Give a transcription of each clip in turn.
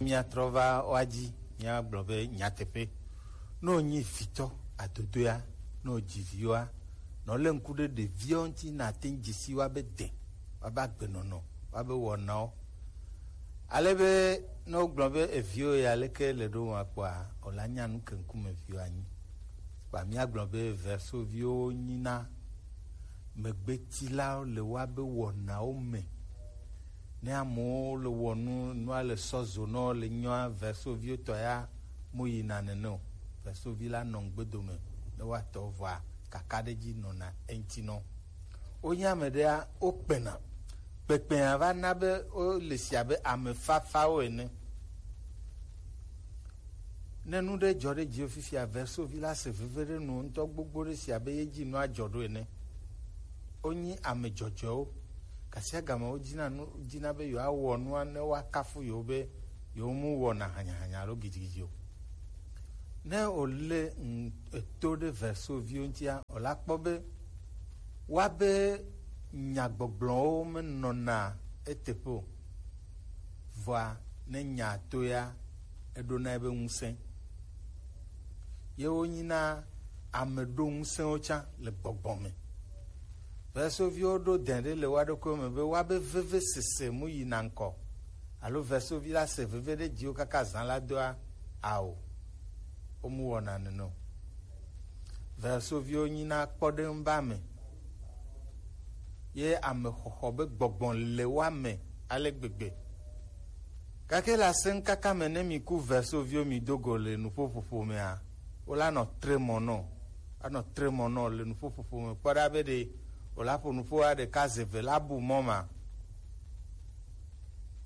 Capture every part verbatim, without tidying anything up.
Míatrɔ va woa dzi, míagblɔ be nyateƒe, ne wònyi vitɔ adodoea, ne wòdzi viwoa, nɔ lé ŋku ɖe ɖeviawo ŋuti, nàte ŋu dze si woabe de, woabe agbenɔnɔ, woabe wɔnawo. Ale be ne wogblɔ be eviwo ya leke le ɖo ma kpɔa, wòla nya nu ke ŋkume viwo anyi. Kpa míagblɔ be versoviwo nyina megbetilawo le woabe wɔnawo me. Ne amewo le wɔ nu, nua le sɔ zo nɔ le nyɔa, versoviwo tɔ ya mo yina nene o. Versovi la nɔ ŋgbedome ne woatɔ vɔa kakaɖedzi nɔna eŋuti nɔ. Wonye ame ɖea, wokpena. Kpekpea va na be wole si abe ame fafawo ene. Ne nu ɖe dzɔ ɖe dziwò fifia, versovi la se veve ɖe nuwò ŋutɔ gbogbo ɖe si abe ye dzi nua dzɔ ɖo ene. Wonyi ame dzɔdzɔewo. Gasiagame wodina nu, dina be yewoawɔ nua ne woakafu yewo be yewo mu wɔna hanyahanya alo gidigidi o. Ne wòle ŋ-, eto ɖe versoviwo ŋutia, wòla kpɔ be woabe nyagbɔgblɔwo menɔna eteƒe o. Vɔa, ne nya to ya, eɖona ebe ŋusẽ. Ye wonyina ame ɖo ŋusẽwo tsã le gbɔgbɔ me. Versoviwo ɖo dɛn ɖe le woa ɖokuiwo me be woabe vevesese mu yina ŋkɔ, alo versovi la se veve ɖe dziwò kaka zã la doa? Ao, womu wɔna nene o. Versoviwo nyina kpɔɖeŋu be ame, ye ame xɔxɔ be gbɔgbɔ le woa me ale gbegbe. Gake le asẽŋkaka me, ne mi ku versoviwo mi do go le nuƒoƒoƒo mea, wola nɔ tre mɔ nɔ, anɔ tre mɔ nɔ le nuƒoƒoƒo me kpɔ ɖa be ɖe wòla ƒo nuƒoa ɖeka ze ve la bu mɔ ma.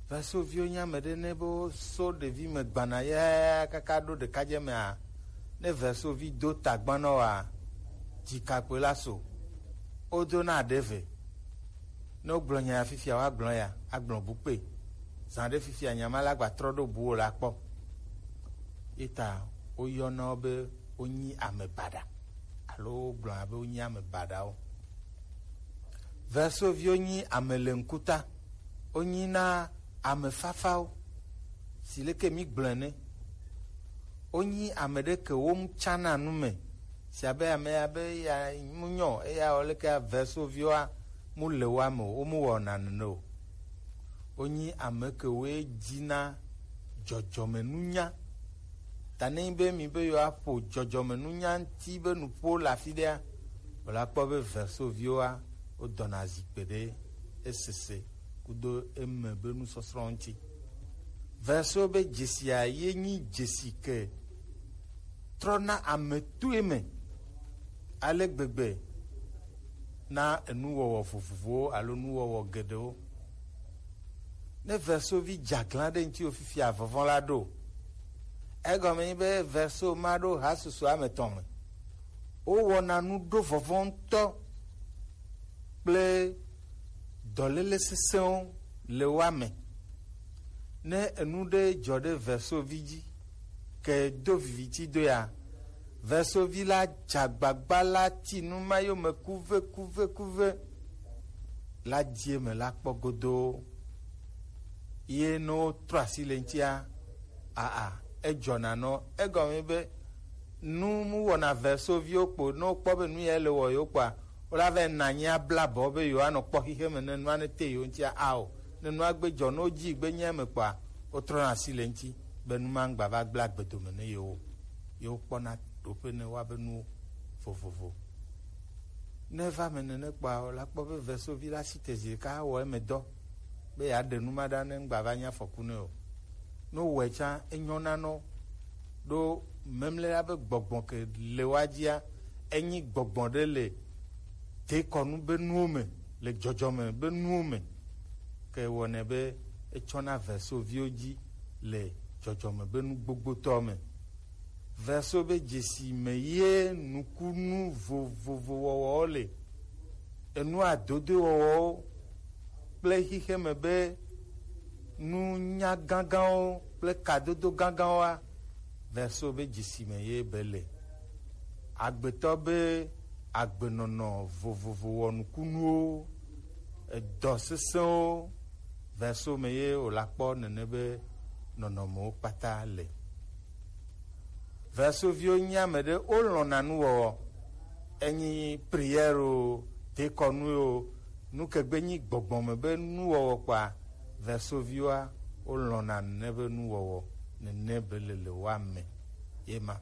Versoviwo nye ame ɖe ne be woso ɖevi me gbana ya kaka ɖo ɖekadze mea, ne versovi do tagban nɔ wa, dzikakpui la so, wodona ɖe ve. Ne wogblɔ nya ya fifia, woagblɔ ya, agblɔ bu kpe. Zã ɖe fifia, nya ma la gba trɔ ɖo buwò la kpɔ. Ye ta woyɔna wo be wonyi ame baɖa, alo wogblɔna be wonyi ame baɖawo. Versoviwo nyi ame le ŋkuta, wonyi na ame fafawo, si leke mi gblɔe ne. Wonyi ame ɖe ke wo mu tsana nu me, si abe ame ya be ya mu nyɔ, eya wɔ leke versoviwoa mu le woa me o, wo mu wɔna nene o. Wonyi ame ke woe dzina dzɔdzɔmenunya. Ta ne nyi be mi be yewoaƒo dzɔdzɔmenunya ŋuti be nuƒo le afi ɖea, wòla kpɔ be versoviwoa, wodɔna zikpe ɖe esese kudo eme be nusɔsrɔ̃ ŋuti. Verso be dzesia ye nyi dzesi ke trɔna ame toe me ale gbegbe na enuwɔwɔ vovovowo alo nuwɔwɔ geɖewo. Ne versovi dze aglã ɖe ŋutiwò fifia, vɔvɔ̃ la ɖo. Egɔme nyi be verso ma ɖo hasusu ame etɔ̃ me. Wowɔna nu ɖo vɔvɔ̃ ŋutɔ kple dɔléle sesẽwo le woa me. Ne enu ɖe dzɔ ɖe versovi dzi, ke do viviti do ya, versovi la dze agbagba la ti nu ma yome kuve, kuve, kuve, la di eme la kpɔ godoo. Ye ne wotrɔ asi le ŋutia, aa, edzɔna nɔ. Egɔme be nu mu wɔna versoviwo kpo, ne wokpɔ be nu ya le wɔ yewo kpɔa, wola vɛ na anyi abla abɔ be yewoanɔ kpɔ xixeme ne nua ne te yewo ŋutia ao. Ne nua gbe dzɔ, ne wodzi gbe nya eme kpɔa, wotrɔna asi le ŋuti be nu ma ŋgba va gblẽ agbe dome ne yewo o. Yewo kpɔna ɖoƒe ne woabe nuwo vovovo. Ne eva me nene kpɔa, wòla kpɔ be vesovi la si te zi ɖeka awɔ eme dɔ be yeaɖe nu ma ɖa ne ŋgba va nye afɔku nɛ o. Ne wòwɔe tsã, enyɔna nɔ ɖo memlɛ la be gbɔgbɔ ke le woa dzia, enyi gbɔgbɔ ɖe le dekɔnu be nuwo me, le dzɔdzɔme be nuwo me, ke wɔnɛ be etsɔna vesoviwo dzi le dzɔdzɔme be nu gbogbotɔ me. Veso be dzesi me ye nukunu vovovo wɔwɔwo le, enu adodo wɔwɔwo kple xixeme be nunya gãgãwo kple kadodo gãgãwoa, veso be dzesi me ye be le. Agbetɔ be agbenɔnɔ vovovo wɔnukunuwo, edɔ sesẽwo, veso me ye wòla kpɔ nene be nɔnɔmewo kpata le. Vesoviwo nyi ame ɖe wolɔ̃na nuwɔwɔ. Enyi prière o, dekɔnu o, nukegbe nyi gbɔgbɔ me be nuwɔwɔ kpɔa, vesoviwoa, wolɔ̃na nene be nuwɔwɔ, nene be lele woame. Ye ma.